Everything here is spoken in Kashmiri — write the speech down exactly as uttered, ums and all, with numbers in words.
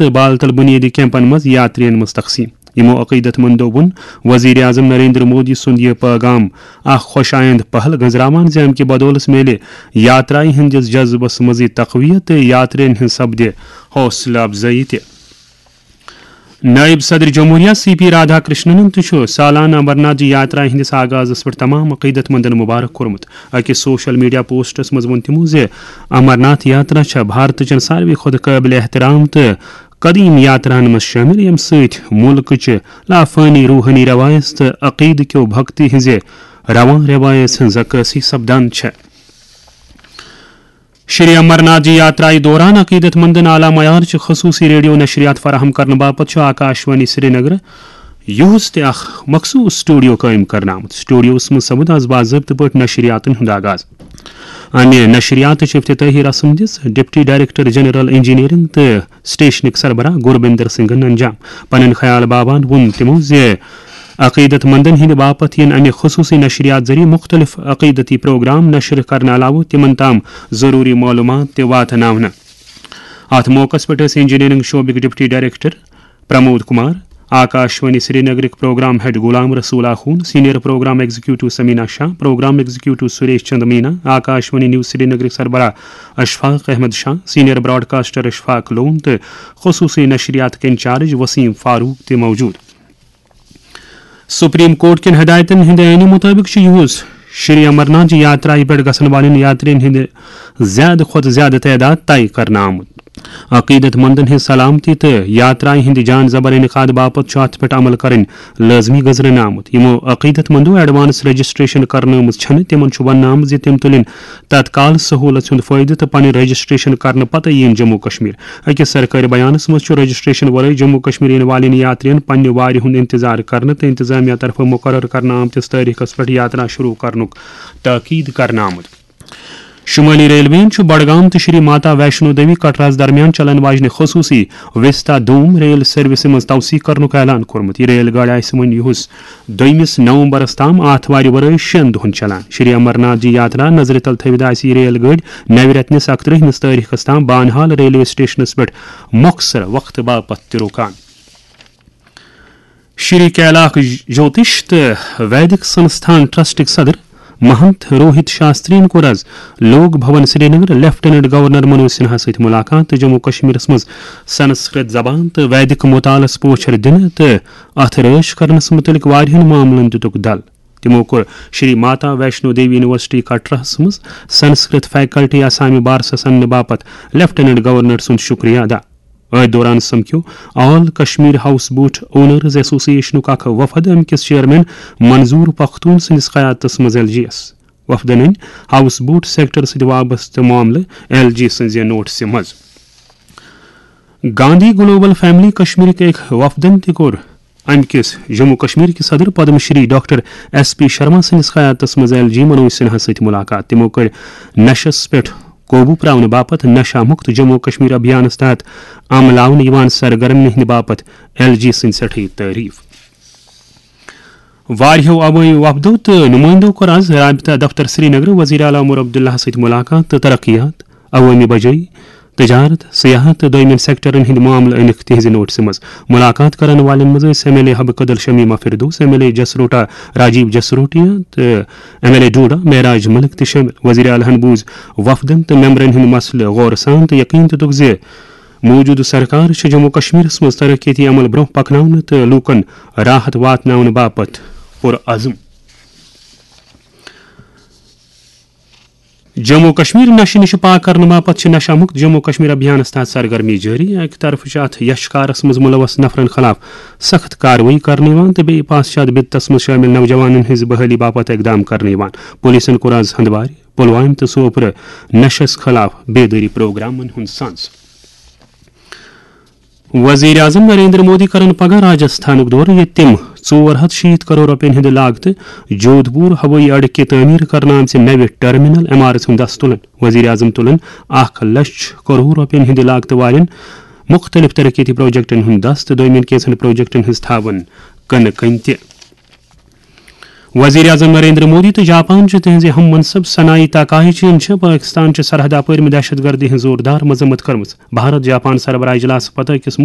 تہٕ بالتل بنیٲدی کیمپن منٛز یاترین منٛز تقسیٖم۔ یِمو عقیدت مندو ووٚن وزیر اعظم نریندر مودی سُنٛد یہِ پیغام اکھ خۄش آیند پہل گنزراوان زِ امہِ کہِ بدولس میلہِ یاترایہِ ہٕنٛدِس جذبس منٛزٕے تقویت تہٕ یاترین ہٕنٛز سپدِ حوصلہٕ افزٲیی تہِ۔ نائب صدر جمہوریہ سی پی رادھا کرشنن تہِ چھُ سالانہٕ امرناتھ جی یاترا ہٕنٛدِس آغازس پٮ۪ٹھ تمام عقیدت مندن مبارک کوٚرمُت۔ أکِس سوشل میڈیا پوسٹس منٛز ووٚن تِمو زِ امرناتھ یاترا چھےٚ بھارتٕچن ساروی کھۄتہٕ قٲبلِ احترام تہٕ قدیم یاتراہن منٛز شٲمِل، ییٚمہِ سۭتۍ مُلکٕچہِ لافٲنی روحٲنی روایژ تہٕ عقیدٕ کیو بھکتی ہٕنٛزِ رواں روایژ ہٕنٛز عکٲسی سپدان چھےٚ۔ شری امرناتھ جی یاترایہِ دوران عقیدت مندن اعلیٰ معیار چہِ خصوصی ریڈیو نشریات فراہم کرنہٕ باپتھ چھُ آکاشوانی سرینگر یُہُس تہِ اکھ مخصوص سٹوڈیو قٲیِم کرنہٕ آمُت۔ سٹوڈیوس منٛز سپُد از باضٲبطہٕ پٲٹھۍ نشریاتن ہُنٛد آغاز۔ امہِ نشریاتٕچ افتتاحی رسم دِژ ڈپٹی ڈائریکٹر جنرل انجینئرنگ تہٕ سٹیشنٕکۍ سربراہ گوربندر سنگھن انجام۔ پنٕنۍ خیال باوان ووٚن تِمو زِ عقیدت مندن ہٕنٛدِ باپتھ یِن امہِ خصوصی نشریات ذٔریعہٕ مُختٔلِف عقیدتی پروگرام نشر کرنہٕ علاوٕ تِمن تام ضروٗری معلوٗمات تہِ واتناونہٕ۔ اتھ موقعس پٮ۪ٹھ ٲسۍ انجینئرنگ شعبٕکۍ ڈپٹی ڈائریکٹر پرمود کمار، آکاشوانی سرینگرٕکۍ programme head Ghulam Rasool Akhoon, senior programme executive Samina Shah, programme executive Suresh Chand Meena, Akashvani news سرینگرٕکۍ سربراہ اشفاق احمد شاہ، سینئر براڈکاسٹر اشفاق لون تہٕ خصوصی نشریاتٕکۍ انچارج وسیم فاروق تہِ موجود۔ سپریم کورٹ کٮ۪ن ہدایتن ہٕنٛدِ عینہٕ مُطٲبِق چھُ یُہُس شری امرناتھ جی یاترایہِ پٮ۪ٹھ گژھن والٮ۪ن یاترین ہٕنٛدِ زیادٕ کھۄتہٕ زیادٕ تعداد طے کرنہٕ آمُت۔ عقیدت مندن ہٕنٛز سلامتی تہٕ یاترایہِ ہٕنٛدِ جان زبر انعقاد باپتھ چھُ اتھ پٮ۪ٹھ عمل کرٕنۍ لٲزمی گزرنہٕ آمُت۔ یِمو عقیدت مندو ایڈوانس رجسٹریشن کرنٲومٕژ چھنہٕ، تِمن چھُ وننہٕ آمُت زِ تِم تُلِن تتکال سہولژ ہُنٛد فٲیدٕ تہٕ پنٕنۍ رجسٹریشن کرنہٕ پتہٕ یِن جموں کشمیر۔ أکِس سرکٲرۍ بیانس منٛز چھُ رجسٹریشن ورٲے جموں کشمیر یِنہٕ والٮ۪ن یاترین پننہِ وارِ ہُنٛد انتظار کرنہٕ تہٕ انتظامیہ طرفہٕ مقرر کرنہٕ آمتِس تٲریخس پٮ۪ٹھ یاترا شروع کرنُک تاکید کرنہٕ آمُت۔ شمٲلی ریلوے یَن چھُ بڈگام تہٕ شری ماتا ویشنو دیوی کٹراہَس درمیان چلن واجنہِ خصوٗصی وستا دوم ریل سروسہِ منٛز توسیع کرنُک اعلان کوٚرمُت۔ یہِ ریل گاڑِ آسہِ وۄنۍ یُہُس دوٚیمِس نومبرس تام آتھوارِ ورٲے شٮ۪ن دۄہن چلان۔ شری امرناتھ جی یاترا نظرِ تل تھٲوِتھ آسہِ یہِ ریل گٲڑۍ نوِ رٮ۪تہٕ نِس اَکترٛہمِس تٲریخس تام بانہال ریلوے سٹیشنس پٮ۪ٹھ مۄخصر وقتہٕ باپتھ تہِ رُکان۔ شری کیلاک جوتش تہٕ ویدک سنستھان ٹرسٹٕکۍ صدر مہنت روہت شاسترین کوٚر از لوک بھون سرینگر لیفٹیننٹ گورنر منوج سنہا سۭتۍ ملاقات تہٕ جموں کشمیرس منٛز سنسکرت زبان تہٕ ویدک مطالعس پوچھر دِنہٕ تہٕ اتھ رٲچھ کرنس متعلق واریاہن معاملن دِتُکھ دل۔ تِمو کوٚر شری ماتا ویشنو دیوی یونیورسٹی کٹراہس منٛز سنسکرت فیکلٹی آسامہِ بارسس اننہٕ باپتھ لیفٹیننٹ گورنر سُنٛد شکریہ ادا۔ أتھۍ دوران سمکھیو آل کشمیر ہاؤس بوٹ اونرز ایسوسی ایشنُک اکھ وفد امہِ کِس چیئرمین منظور پختون سٕنٛدِس قیادتس منٛز ایل جی یس۔ وفدن أنۍ ہاؤس بوٹ سیکٹر سۭتۍ وابستہٕ معاملہٕ ایل جی سٕنٛزِ نوٹسہِ منٛز۔ گاندھی گلوبل فیملی کشمیرٕکۍ أکۍ وفدن تہِ کوٚر امہِ کِس جموں کشمیر کِس صدر Padma Shri doctor S P Sharma سٕنٛدِس قیادتس منٛز ایل جی منوج سنہا سۭتۍ ملاقات۔ تِمو کٔرۍ نشس پٮ۪ٹھ قوبو پراونہٕ باپتھ نشہ مکت جموں کشمیر ابھیانس تحت عملاونہٕ یِوان سرگرمین ہٕنٛدِ باپتھ ایل جی سٕنٛدۍ سٮ۪ٹھٕے تعریف۔ واریاہو عوٲمی وفدو تہٕ نمٲیندو کوٚر از رابطہ دفتر سرینگر وزیر اعلیٰ عمر عبداللہ سۭتۍ ملاقات تہٕ ترقیات، عوٲمی بجٲیی، تجارت، سیاحت تہٕ دوٚیمٮ۪ن سیکٹرن ہٕنٛدۍ معاملہٕ أنِکھ تِہنٛزِ نوٹسہِ منٛز۔ ملاقات کرن والٮ۪ن منٛز ٲسۍ M L A Habba Kadal Shamima Firdous, M L A Jasrota Rajiv Jasrotia تہٕ M L A Doda Mehraj Malik تہِ شٲمِل۔ وزیر اعلیٰ ہن بوٗز وفدن تہٕ ممبرن ہٕنٛدۍ مسلہٕ غورٕ سان تہٕ یقین دِتُکھ زِ موجودٕ سرکار چھِ جموں کشمیرس منٛز ترقیتی عمل برونٛہہ پکناونہٕ تہٕ لوٗکن راحت واتناونہٕ باپتھ پُرعزم۔ جموں کشمیر نشہٕ نِش پاک کرنہٕ باپتھ چھِ نشہ مکت جموں کشمیر ابھیانس تحت سرگرمی جٲری۔ اکہِ طرفہٕ چھِ اتھ یشکارس منٛز ملوث نفرن خلاف سخت کاروٲیی کرنہٕ یِوان تہٕ بیٚیہِ پاسہٕ چھِ اتھ بدعتس منٛز شٲمِل نوجوانن ہٕنٛز بحٲلی باپتھ اقدام کرنہٕ یِوان۔ پولیسن کوٚر از ہندوارِ، پلوامہِ تہٕ سوپرٕ نشس خلاف بیدٲری پروگرامن ہُنٛد سنز۔ وزیر اعظم نریندر مودی کرن پگاہ راجستھانُک دورٕ، ییٚتہِ تِم ژور ہتھ شیٖتھ کرور رۄپین ہٕنٛدِ لاگتہٕ جودھپور ہوٲیی اڈٕ کہِ تعمیٖر کرنہٕ آمژِ نوِ ٹرمینل عمارژ ہُنٛد دس تُلن۔ وزیر اعظم تُلن اکھ لچھ کرور رۄپین ہٕنٛدِ لاگتہٕ والٮ۪ن مُختٔلِف ترقیتی پروجیکٹن ہُنٛد دس تہٕ دوٚیمٮ۪ن کینٛژن پروجیکٹن ہٕنٛز تھاوَن کٕنہٕ کٔنۍ تہِ۔ وزیر اعظم نریندر مودی تہٕ جاپان چہِ تِہنٛزِ ہم منصب سنائی تاکائیچی یَن چھِ پٲکستان چہِ سرحد اپٲرۍ دہشت گردی ہٕنٛز زوردار مذمت کٔرمٕژ۔ بھارت جاپان سربراہ اجلاسہٕ پتہٕ أکِس